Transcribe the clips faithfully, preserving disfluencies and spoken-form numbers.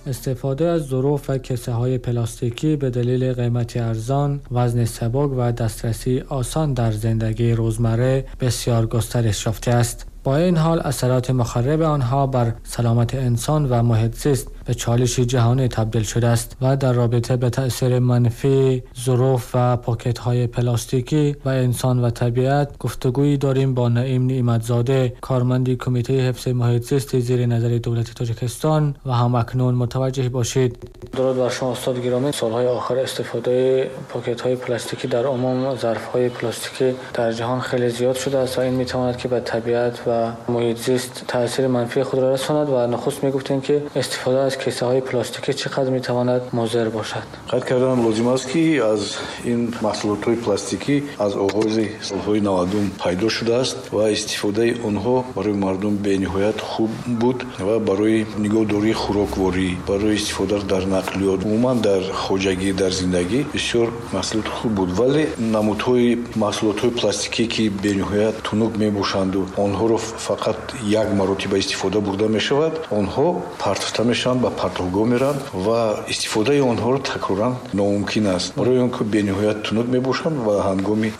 استفاده از ظروف و کیسه های پلاستیکی به دلیل قیمت ارزان، وزن سبک و دسترسی آسان در زندگی روزمره بسیار گسترش یافته است. با این حال اثرات مخرب آنها بر سلامت انسان و محیط زیست به چالش جهانی تبدیل شده است و در رابطه به تأثیر منفی ظروف و پاکت های پلاستیکی و انسان و طبیعت گفتگویی داریم با نعیم نعمتزاده، کارمند کمیته حفظ محیط زیست زیر نظر دولت تاجیکستان و هم اکنون متوجه باشید. درود بر شما استاد گرامی. سالهای آخر استفاده پاکت های پلاستیکی در عموم ظرف های پلاستیکی در جهان خیلی زیاد شده است و این میتواند که به طبیعت و محیط زیست تاثیر منفی خود را رساند و نخست میگفتیم که استفاده از کیسه های پلاستیکی چقدر میتواند مضر باشد. قید کردن لازم است که از این محصولات های پلاستیکی از آغاز سالهای نود پیدا شده است و استفاده آنها برای مردم به نهایت خوب بود و برای نگهداری خوراکواری، برای استفاده در نقلیات، عموما در خواجگی، در زندگی بسیار محصولات خوب بود. ولی نمودهای محصولات های پلاستیکی که به نهایت تنک میباشند و آنها را فقط یک مرتبه استفاده برده می شود، آنها پرتفته میشوند، به پرتوگاه میرند و استفاده آنها را تکرارا ناممکن است. برای آنکه به نهایت تنک میباشند و هنگامی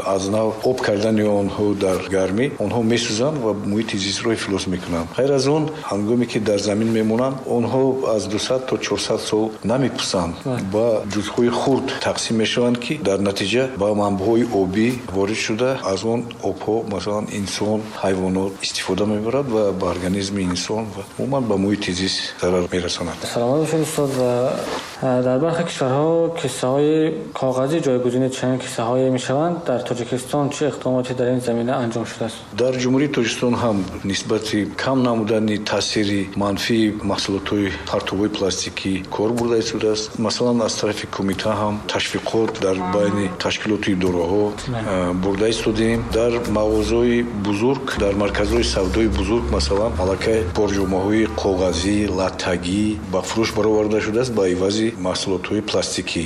از نو آب کردن آنها در گرمی آنها میسوزند و محیط زیست را افلاس میکنند. غیر از آن هنگامی که در زمین میمونند آنها از دویست تا چهارصد سال نمیپوسند، با جزءهای خرد تقسیم میشوند که در نتیجه با منبعهای آبی وارد شده از آن آبها مثلا انسان، حیوانات استفاده میبرد و به ارگانیسم انسان و عموما به محیط زیست ضرر میرساند. سلامت باشید استاد. و در برخی کشورها کیسه های کاغذی جایگزین چنین کیسه های میشوند. در تاجیکستان چه اقداماتی در این زمینه انجام شده است؟ در جمهوری تاجیکستان هم نسبت کم نمودن تاثیر منفی محصولات پرتوهای پلاستیکی کار برده شده است. مثلا از طرف کمیته هم تشویقات در بین تشکیلات اداره برده شدیم. در مغازه‌های بزرگ، در مرکزهای سودای بزرگ مثلا аллакай порҷомаҳои коғазӣ, латтагӣ ба фурӯш бароварда шудааст ба ивази маҳсулотҳои пластикӣ.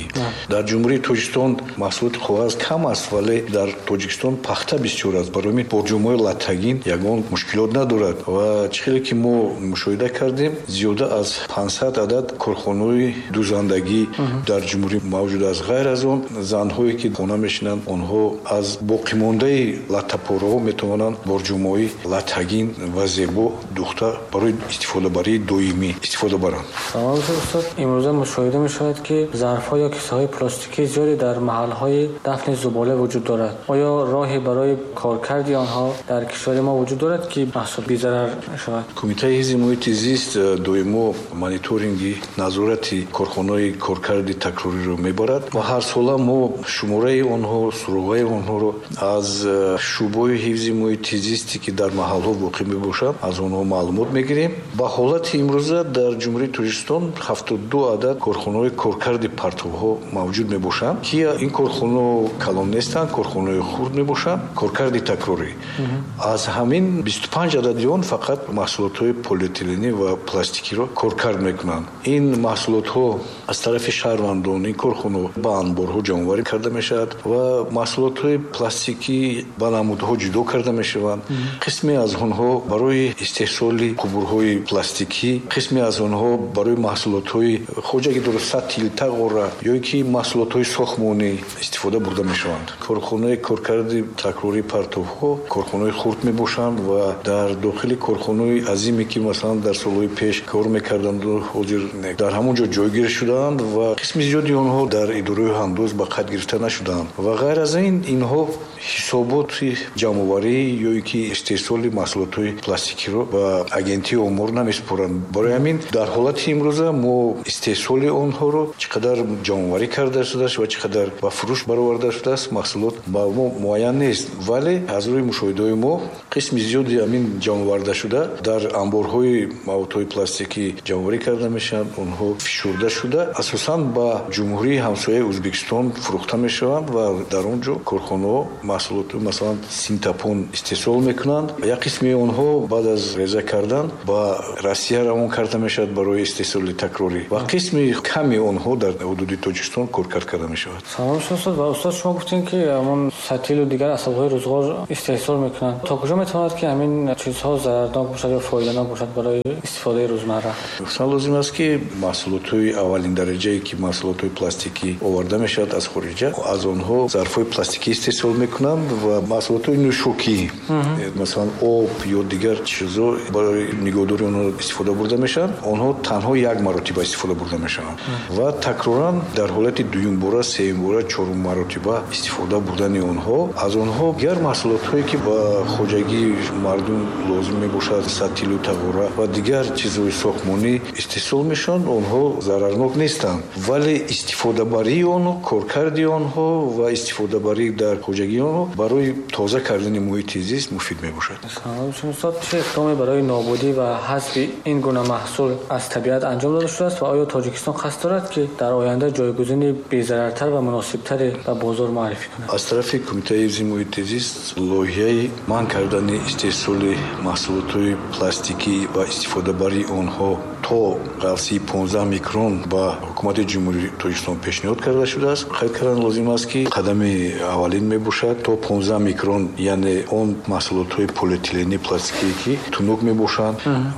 Дар Ҷумҳурии Тоҷикистон маҳсулоти коғаз кам аст, вале дар Тоҷикистон пахта бисёр аст. Барои ҳамин порҷомаҳои латтагин ягон мушкилот надорад ва чӣ хеле ки мо мушоҳида кардем, зиёда аз панҷсад адад корхонаҳои дӯзандагӣ дар ҷумҳурӣ мавҷуд аст. Ғайр аз он занҳое ки хона мешинанд, онҳо аз боқимондаи латтапораҳо метавонанд борҷомаҳои латтагин ва зебо духта барои истифодабарии доимӣ истифода баранд. Салом устод. имрӯза мушоҳида мешавад ки зарфҳо ё кисаҳои пластикии зиёде дар маҳалҳои дафни зубола вуҷуд дорад. Оё роҳе барои коркарди онҳо дар кишвари мо вуҷуд дорад ки маҳсул безарар шавад? Кумитаи ҳифзи муҳити зист доимо мониторинги назорати корхонаҳои коркарди такрориро мебарад ва ҳар сола мо шумораи онҳо, суроғаи онҳоро аз шӯъбаи ҳифзи муҳити зисте ки дар маҳалҳо воқеъ мебошанд аз онҳо маълумот мегирем. Ба ҳолати имрӯза дар Ҷумҳурии Тоҷикистон ҳафтоду ду адад корхонаҳои коркарди партовҳо мавҷуд мебошанд ки ин корхонаҳо калон нестанд, корхонаҳои хурд мебошанд, коркарди такрорӣ. Аз ҳамин бисту панҷ адади он фақат маҳсулотҳои полиэтиленӣ ва пластикиро коркард мекунанд. Ин маҳсулотҳо аз тарафи шаҳрвандон, ин корхонаҳо ба анборҳо ҷамъоварӣ карда мешавад ва маҳсулотҳои пластикӣ ба намудҳо ҷудо карда мешаванд. Қисме аз онҳо барои истеҳсоли қубурҳои пластикӣ, қисме аз онҳо барои маҳсулотҳои хоҷагидор, сатил, тағора ё ки маҳсулотҳои сохтмонӣ истифода бурда мешаванд. Корхонаи коркарди такрории партовҳо корхонаҳои хурд мебошанд ва дар дохили корхонаҳои азиме ки масалан дар солҳои пеш кор мекарданд ҳозир дар ҳамон ҷо ҷойгир шудаанд ва қисми зиёди онҳо дар идораи ҳандоз ба қайд гирифта нашудаанд. Ва ғайр аз ин инҳо ҳисоботи ҷамъоварӣ ё ки истеҳсоли маҳсулотҳои пластикиро ба агентии омор намесупоранд. Барои ҳамин дар ҳолати имрӯза мо истеҳсоли онҳоро чӣ қадар ҷамъоварӣ карда шудааст ва чӣ қадар ба фурӯш бароварда шудааст маҳсулот ба мо муайян нест. Вале аз рӯи мушоҳидаҳои мо қисми зиёди ҳамин ҷамъоварда шуда дар анборҳои маводҳои пластикӣ ҷамъоварӣ карда мешаванд, онҳо фишурда шуда асосан ба ҷумҳурии ҳамсояи Ӯзбекистон фурӯхта мешаванд ва дар он ҷо корхонаҳо маҳсулот масалан синтапон истеҳсол мекунанд. Як қисми онҳо баъд аз реза кардан ба Россия равон карда мешавад барои истеҳсоли такрорӣ ва қисми ками онҳо дар ҳудуди Тоҷикистон коркард карда мешавад. Салом устод. Ва устод, шумо гуфтем ки ҳамон сатил ва дигар асбобҳои рӯзғор истеҳсол мекунанд. То куҷо метавонад ки ҳамин чизҳо зарарнок бошад ё фоиданок бошад барои истифодаи рӯзмарра? Гуфтан лозим аст ки маҳсулотҳои аввалин дараҷае ки маҳсулотҳои пластикӣ оварда мешавад аз хориҷа, аз онҳо зарфҳои пластикӣ истеҳсол мекунанд ва маҳсулотҳои нӯшокӣ, масалан об ё дигар чизҳо барои нигоҳдории онҳо истифода бурда мешаванд. Онҳо танҳо як маротиба истифода бурда мешаванд ва такроран дар ҳолати дуюмбора, сеюмбора, чорум маротиба истифода бурдани онҳо, аз онҳо дигар маҳсулотҳое ки ба хоҷагии мардум лозим мебошад, сатилу тағора ва дигар чизҳои сохтмонӣ истеҳсол мешаванд, онҳо зарарнок нестанд. Вале истифодабарии онҳо, коркарди онҳо ва истифодабарӣ дар хоҷагии онҳо барои тоза кардани муҳити зист муфид мебошад. Устод, чӣ иқдоме барои нобудӣ ва ҳазфи ин гуна маҳсул аз табиат анҷом дода шудааст ва оё Тоҷикистон қасд дорад ки дар оянда ҷойгузини безарартар ва муносибтаре ба бозор муаррифӣ кунад? Аз тарафи Кумитаи ҳифзи муҳити зист лоиҳаи манъ кардани истеҳсоли маҳсулотҳои пластикӣ ва истифодабарии онҳо то ғафсии понздаҳ микрон ба ҳукумати Ҷумҳурии Тоҷикистон пешниҳод карда шудааст. Қайд кардан лозим аст ки қадами аввалин мебошад то понздаҳ микрон, яъне он маҳсулотҳои полиэтиленӣ пластикие ки тунук мебошанд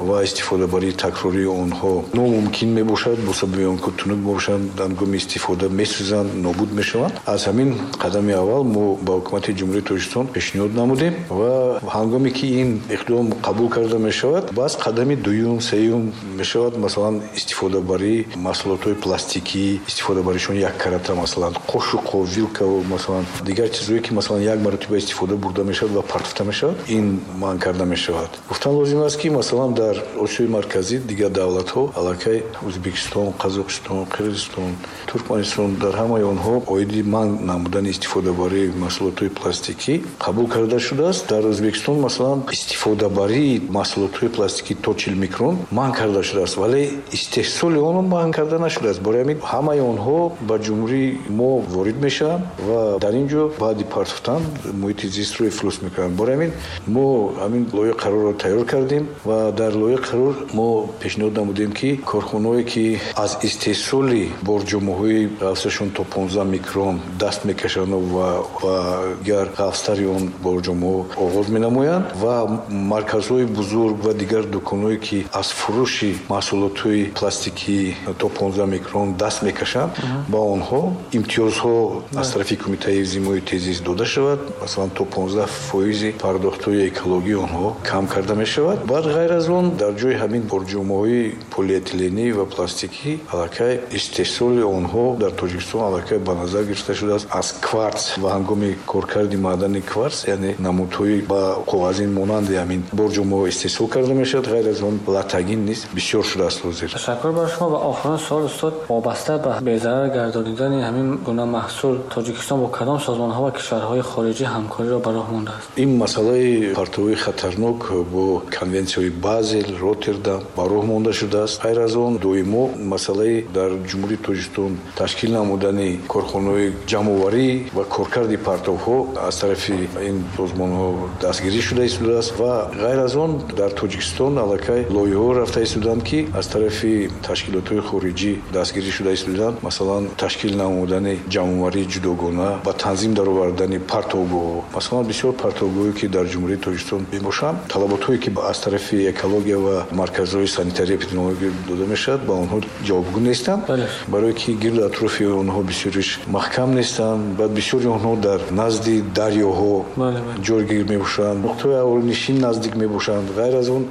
ва истифодабарии такрории онҳо номумкин мебошад, бо сабаби он ки тунук мебошанд, ҳангоми истифода месӯзанд, нобуд мешаванд. Аз ҳамин қадами аввал мо ба ҳукумати Ҷумҳурии Тоҷикистон пешниҳод намудем ва ҳангоме ки ин иқдом қабул карда мешавад, баъз қадами дуюм, сеюм мешавад, масалан истифодабарии маҳсулотҳои пластикӣ, истифодабаришон як карата, масалан қошуқо, вилкао, масалан дигар чизҳое ки масалан як маротиба истифода бурда мешавад ва партофта мешавад, ин манъ карда мешавад. Гуфтан лозим аст ки масалан дар Осиёи Марказӣ дигар давлатҳо, аллакай Ӯзбекистон, Қазоқистон, Қирғизистон, Туркманистон, дар ҳамаи онҳо оиди манъ намудани истифодабарии маҳсулотҳои пластикӣ қабул карда шудааст. Дар Ӯзбекистон масалан истифодабарии маҳсулотҳои пластикӣ то чил микрон манъ карда шудааст, вале истеҳсоли он манъ карда нашудааст. Барои ҳамин ҳамаи онҳо ба ҷумҳурии мо ворид мешаванд ва дар ин ҷо баъди партофтан муҳити зистро ифлос мекунанд. Барои ҳамин мо ҳамин лоиҳаи қарорро тайёр кардем ва дар лоиҳаи қарор мо пешниҳод намудем ки корхонаҳое ки аз истеҳсоли борҷомаҳои ғафсашон то понздаҳ микрон даст мекашанд ва ба дигар ғафстари он борҷомаҳо оғоз менамоянд ва марказҳои бузург ва дигар дуконҳое ки аз фурӯши маҳсулотҳои пластикӣ то понздаҳ микрон даст мекашанд, ба онҳо имтиёзҳо аз тарафи Кумитаи ҳифзи муҳити зист дода шавад. Масалан то понздаҳ фоизи пардохтҳои экологии онҳо кам карда мешавад. Баъд ғайр аз он дар ҷои ҳамин борҷомаҳои полиэтиленӣ ва пластикӣ аллакай истеҳсоли онҳо дар Тоҷикистон аллакай ба назар гирифта шудааст аз кварц ва ҳангоми коркарди маъдани кварц, яъне намудҳои ба коғазин монанди ҳамин борҷомаҳо истеҳсол карда мешавад. Ғайр аз он латагин низ бисёр шудааст ҳозир. Ташаккур бар шумо. Ва охирин суол устод, вобаста ба безарар гардонидани ҳамин гуна маҳсул Тоҷикистон бо кадом созмонҳо ва кишварҳои хориҷӣ ҳамкориро ба роҳ мондааст? Ин масъалаи партовҳои хатарнок бо конвенсияҳои Базел, Роттердам ба роҳ монда шудааст. Ғайр аз он доимо масъалаи дар Ҷумҳурии Тоҷикистон ташкил намудани корхонаҳои ҷамъоварӣ ва коркарди партовҳо аз тарафи ин созмонҳо дастгирӣ шуда истодааст ва ғайр аз он дар Тоҷикистон аллакай лоиҳаҳо рафта истоданд ки аз тарафи ташкилотҳои хориҷӣ дастгирӣ шуда истоданд. Масалан ташкил намудани ҷамъоварии ҷудогона ба танзим даровардани партовгоҳҳо. Масалан бисёр партовгоҳое ки дар Ҷумҳурии Тоҷикистон мебошанд, талаботҳое ки аз тарафи экология ва марказҳои санитария эпидемиология дода мешавад, ба онҳо ҷавобгӯ нестанд, барое ки гирду атрофи онҳо бисёриш маҳкам нестанд. Баъд бисёри онҳо дар назди дарёҳо ҷойгир мебошанд, нуқтаҳои аҳолинишин наздик мебошанд. Ғайр аз он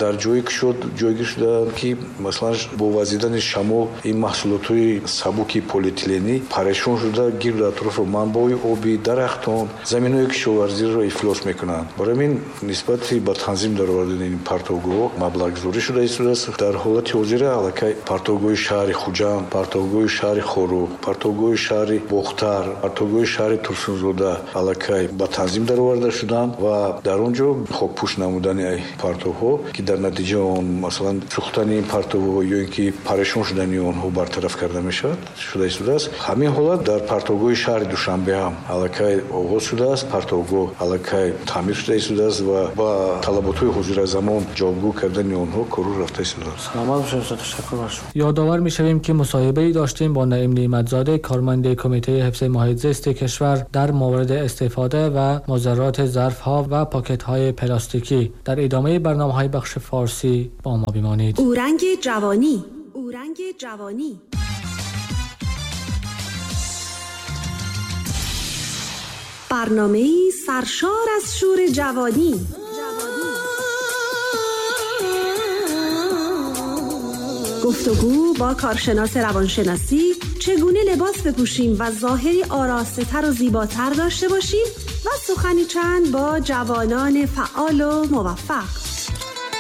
дар ҷое кушод ҷойгир шудаанд ки масалан бо вазидани шамол ин маҳсулотҳои сабуки полиэтиленӣ парешон шуда гирду атрофи манбаъҳои обӣ, дарахтон, заминҳои кишоварзиро ифлос мекунанд. Барои ҳамин нисбати ба танзим даровардани ин партовгоҳҳо маблағгузорӣ шуда истодааст. Дар ҳолати ҳозира аллакай партовгоҳи шаҳри Хуҷанд, партовгоҳи шаҳри Хоруғ, партовгоҳи шаҳри Бохтар, партовгоҳи шаҳри Турсунзода аллакай ба танзим дароварда шуданд ва дар он ҷо хокпӯш намудани партовҳо ки дар натиҷаи он масалан Сӯхтани ин партовҳо ё ин ки парешон шудани онҳо бартараф карда мешавад, шуда истодааст. Ҳамин ҳолат дар партовгоҳи шаҳри Душанбе ҳам аллакай оғоз шудааст. Партовгоҳ аллакай таъмир шуда истодааст ва ба талаботҳои ҳозиразамон ҷавобгӯ кардани онҳо кору рафта истодааст. Саломат бошед устод, ташаккур бар шумо. Ёдовар мешавем ки мусоҳибае доштем бо Наим Неъматзода, корманди кумитаи ҳифзи муҳити зисти кишвар дар мавриди истифода ва музаррати ظرف‌ها و پاکت‌های پلاستیکی. در ادامه برنامه‌های بخش فارسی با ما بمانید. اورنگ جوانی، اورنگ جوانی. برنامه‌ای سرشار از شور جوانی. گفتگو با کارشناس روانشناسی، چگونه لباس بپوشیم و ظاهری آراسته‌تر و زیباتر داشته باشیم و سخنی چند با جوانان فعال و موفق.